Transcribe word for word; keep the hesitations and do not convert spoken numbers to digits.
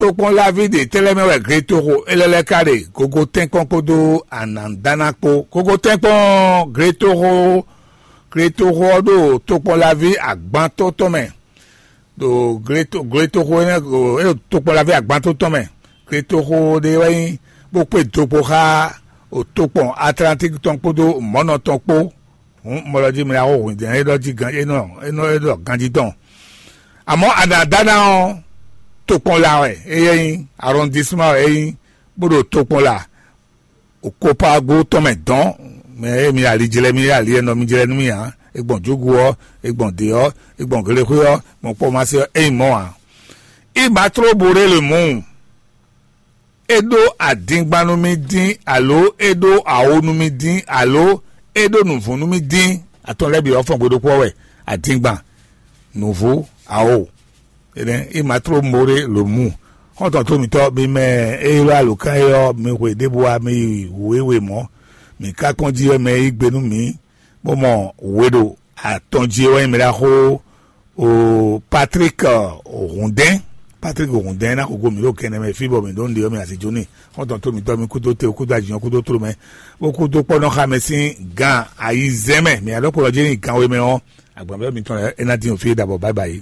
Tokpɔnlaví ɖě tɛ́ lɛ́ɛ mɛ wɛ gletoxo élɔ́ lɛ́ɛ ka ɖe? Gogo tɛ́nkpɔ́n kpódó anǎdáná kpó. Gogo tɛ́nkpɔ́n, gletoxo gletoxo ɔ́ ɖo tokpɔnlaví agbantɔ́ tɔn mɛ. Ɖo gletoxo énɛ́, é ɖo tokpɔnlaví agbantɔ́ tɔn mɛ. Gletoxo ɖé wɛ nyí bó kpé dokpo xá tokpɔn Atlantík tɔn kpódó mɔ̌nɔ tɔn kpó. Hǔn mɔ ɖɔ jí mɛ ɖaxó hwǐndɛ́n é ɖɔ jí gan é nɔ é nɔ é ɖɔ ganjí tɔn. Amɔ̌, anǎdáná ɔ́, tokpɔn la wɛ é nyí, arɔndisma wɛ é nyí, bó ɖo tokpɔn la. Kopago tɔn mɛ dɔn, mɛ e mi ali jlɛ mi ali e nɔ mi jlɛ nú mi ǎ, e gbɔn jogu ɔ́, e gbɔn dě ɔ́, e gbɔn glexwé ɔ́, gbɔn kpɔ́ ma se ɔ́, é nyí mɔ̌ ǎ. Imatló bo ɖé le mɔ̌. É ɖó adingban nú mì dín, alo é ɖó awo nú mì dín, alo é ɖó nǔvú nú mì dín? Atɔn lɛ́ɛ bǐ ɔ́ fɔn gbe ɖokpó ɔ́ wɛ: adingban, nǔvú, awo. Énɛ́, imatló moré lo mú. Xɔ́ntɔn tó mǐtɔn, mi mɛ e ylɔ́ alǒkan é ɔ́, mi hwe ɖěbǔ wá, mi yi wǔ e we mɔ̌. Mǐ ka kpɔ́n jí wɛ mɛ e yí gbe nú mǐ, bó mɔ we ɖo atɔn jí é wɛ nyí mɛ ɖaxó o Patrik Hundɛn. Patrik Hundɛn ná xo go mǐ ɖo kɛnɛ mɛ fí bɔ mǐ ɖó nǔɖé ɔ́, mi asi jó n'i. Xɔ́ntɔn tó mǐtɔn, mi kúdó te, kúdó ajǐnyɔ́, kúdó tló mɛ, bó kúdó kpɔ́ nɔ xa mɛ sín gan ayizɛ́n mɛ. Mǐ adɔkpɔ́nɔ jí nyi gan we mɛ ɔ́, agbǎnvɛ́ mitɔn lɛ́ɛ é ná dín fí é ɖabɔ. Báyibáyi.